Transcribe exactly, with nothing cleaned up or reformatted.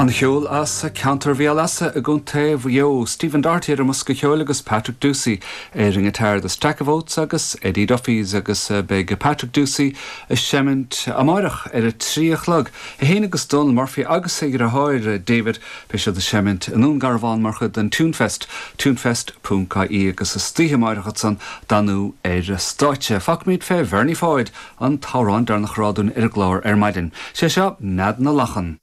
An cheol as ceantar Bhéal Easa i gContae Mhaigh Eo, Stephen Doherty ar an mbosca ceoil agus Patrick Ducey ar an ngiotár the Stack of Oats agus Eddie Duffy's agus eh, beidh Patrick Ducey ag seimint amárach ar a trí a chlog. É féin agus Donal Murphy agus a dheartháir eh, David beidh siad ag seimint i nDún Garbhán mar chuid den Tunefest, tunefest.ie agus istoíche amárach san Danú ar stáitse. Fágfaimid fé Bhernie Pháid an t-amhrán deireanach a rá dúinn ar an gclár ar maidin. Sé seo Nead na Lachan.